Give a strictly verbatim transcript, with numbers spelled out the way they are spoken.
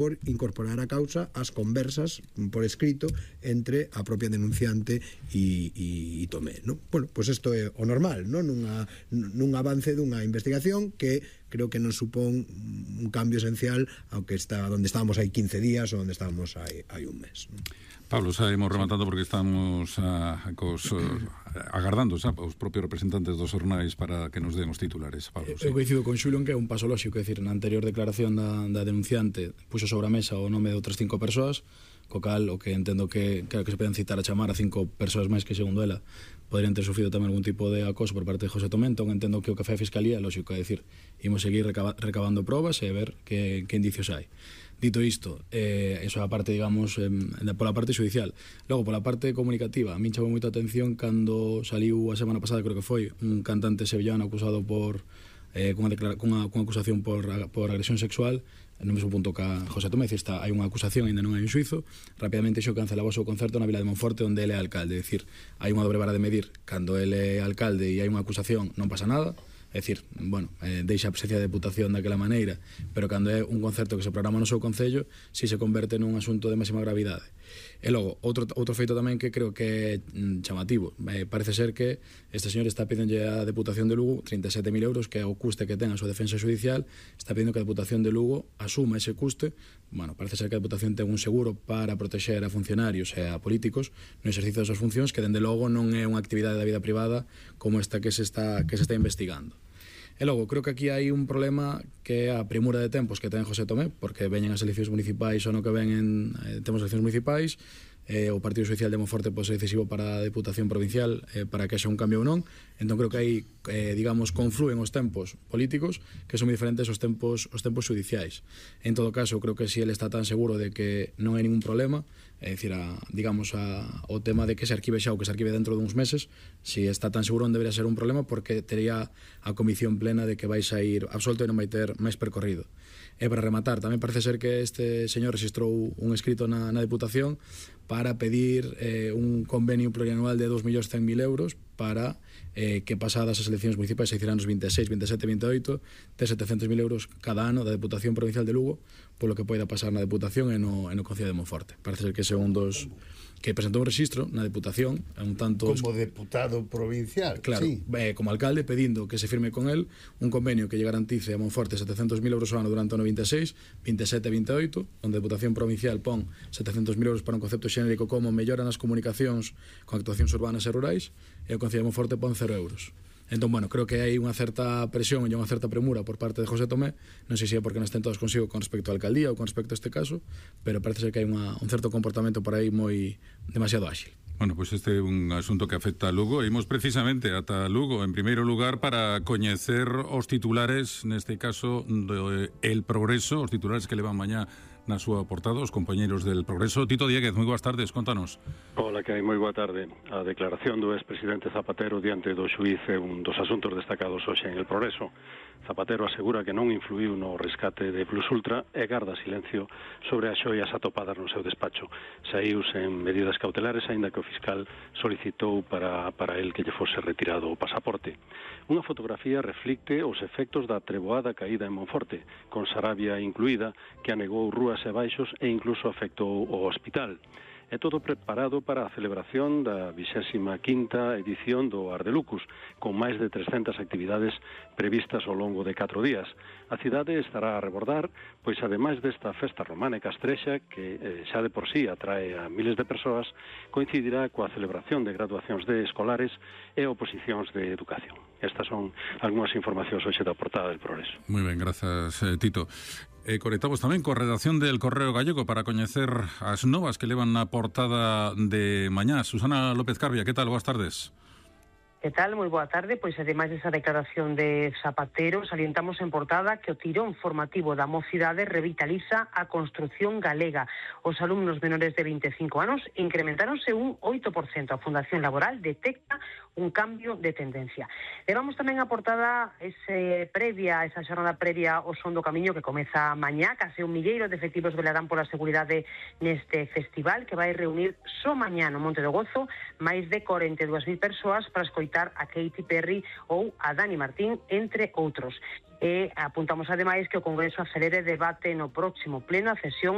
por incorporar a causa as conversas por escrito entre a propia denunciante e, e, e Tomé, non? Bueno, pois pues isto é o normal, non? Nunha, nun avance dunha investigación que creo que non supón un cambio esencial ao que está onde estábamos hai quince días ou onde estábamos hai, hai un mes, non? Pablo, xa imos rematando porque estamos a, cos, uh, agardando xa os propios representantes dos xornais para que nos den os titulares. Pablo, sí. Eu coincido con Xulio en que é un paso lóxico, é dicir, na anterior declaración da, da denunciante puxo sobre a mesa o nome de outras cinco persoas, co cal o que entendo que, claro, que se poden citar a chamar a cinco persoas máis que, segundo ela, poderían ter sufrido tamén algún tipo de acoso por parte de José Tomé. Entón entendo que o que fai a Fiscalía é lóxico, é dicir, imos seguir recaba, recabando probas e ver que, que indicios hai. Dito isto, eh, eso é a parte, digamos, eh, pola parte judicial. Logo, pola parte comunicativa, a min chamou moita atención cando saliu a semana pasada, creo que foi, un cantante sevillano acusado por eh, cunha, declara, cunha, cunha acusación por, por agresión sexual, no mesmo punto que a José Tomé, está, hai unha acusación, ainda non hai un xuizo, rapidamente xo cancelaba o seu concerto na Vila de Monforte, onde ele é alcalde. É dicir, hai unha dobre vara de medir, cando ele é alcalde e hai unha acusación, non pasa nada. É dicir, bueno, eh, deixa a presencia de deputación daquela maneira, pero cando é un concerto que se programa no seu concello, si se converte nun asunto de máxima gravidade. E logo, outro, outro feito tamén que creo que é mm, chamativo, eh, parece ser que este señor está pedindo a Deputación de Lugo trinta e sete mil euros, que é o custe que ten a súa defensa judicial, está pedindo que a Deputación de Lugo asuma ese custe. Bueno, parece ser que a Deputación ten un seguro para protexer a funcionarios e a políticos no exercicio das súas funcións, que dende logo non é unha actividade da vida privada como esta que se está, que se está investigando. E logo, creo que aquí hai un problema que é a premura de tempos que ten José Tomé, porque veñen as eleccións municipais ou no que ven, eh, temos eleccións municipais, eh, o Partido Social de Monforte pode ser decisivo para a Deputación Provincial, eh, para que haxa un cambio ou non. Entón creo que aí, eh, digamos, confluen os tempos políticos que son moi diferentes aos tempos, os tempos judiciais. En todo caso, creo que si ele está tan seguro de que non hai ningún problema, é dicir, a, digamos, a, o tema de que se arquive xa ou que se arquive dentro duns meses, si está tan seguro non debería ser un problema, porque tería a convicción plena de que vais a ir absolto e non vai ter máis percorrido. E para rematar, tamén parece ser que este señor registrou un escrito na, na Deputación para pedir eh, un convenio plurianual de dos millóns cen mil euros para eh, que pasadas as eleccións municipais se hicieran os vinte e seis, vinte e sete, vinte e oito, de setecentos mil euros cada ano da Deputación Provincial de Lugo, polo que poida pasar na Deputación e no, e no Concello de Monforte. Parece ser que ese é un dos que presentou un registro na Deputación, un tanto como deputado provincial, claro, sí. eh, como alcalde, pedindo que se firme con el un convenio que lle garantice a Monforte setecentos mil euros ao ano durante o ano vinte e seis, vinte e sete e vinte e oito, onde a Deputación Provincial pon setecentos mil euros para un concepto xenérico como mellora nas comunicacións con actuacións urbanas e rurais, e o Concello de Monforte pon cero euros. Entón, bueno, creo que hai unha certa presión e unha certa premura por parte de José Tomé, non sei se é porque non estén todos consigo con respecto á alcaldía ou con respecto a este caso, pero parece ser que hai unha, un certo comportamento por aí moi demasiado áxil. Bueno, pois pues este é un asunto que afecta a Lugo. Imos precisamente ata Lugo, en primeiro lugar, para coñecer os titulares, neste caso, do El Progreso, os titulares que levan mañá na súa portada, os compañeiros del Progreso. Tito Dieguez, moi boas tardes, contanos. Hola, que hai, moi boa tarde. A declaración do expresidente Zapatero diante do xuíz é un dos asuntos destacados hoxe en El Progreso. Zapatero asegura que non influiu no rescate de Plus Ultra e garda silencio sobre as xoias atopadas no seu despacho. Saíu sen medidas cautelares, aínda que o fiscal solicitou para, para el que lle fose retirado o pasaporte. Unha fotografía reflicte os efectos da treboada caída en Monforte, con Sarabia incluída, que anegou rúas e baixos e incluso afectou o hospital. É todo preparado para a celebración da vixésima quinta edición do Ardelucus, con máis de trescentas actividades previstas ao longo de catro días. A cidade estará a rebordar, pois ademais desta festa romana e castrexa, que eh, xa de por sí atrae a miles de persoas, coincidirá coa celebración de graduacións de escolares e oposicións de educación. Estas son algunhas informacións hoxe da portada del Progreso. Moi ben, grazas, eh, Tito. E conectamos tamén coa redacción del Correo Gallego para coñecer as novas que levan na portada de mañá. Susana López Carbia, que tal? Boas tardes. Que tal? Moi boa tarde. Pois ademais desa declaración de Zapatero, salientamos en portada que o tirón formativo da mocidade revitaliza a construción galega. Os alumnos menores de vinte e cinco anos incrementáronse un oito por cento. A Fundación Laboral detecta un cambio de tendencia. Levamos tamén a portada ese previa, esa xornada previa ao Son do Camiño que comeza mañá. Case un milleiro de efectivos velarán pola seguridade neste festival que vai reunir só mañá no Monte do Gozo máis de corenta e dúas mil persoas para escoitar a Katy Perry ou a Dani Martín, entre outros. E apuntamos ademais que o Congreso acelere debate no próximo pleno a cesión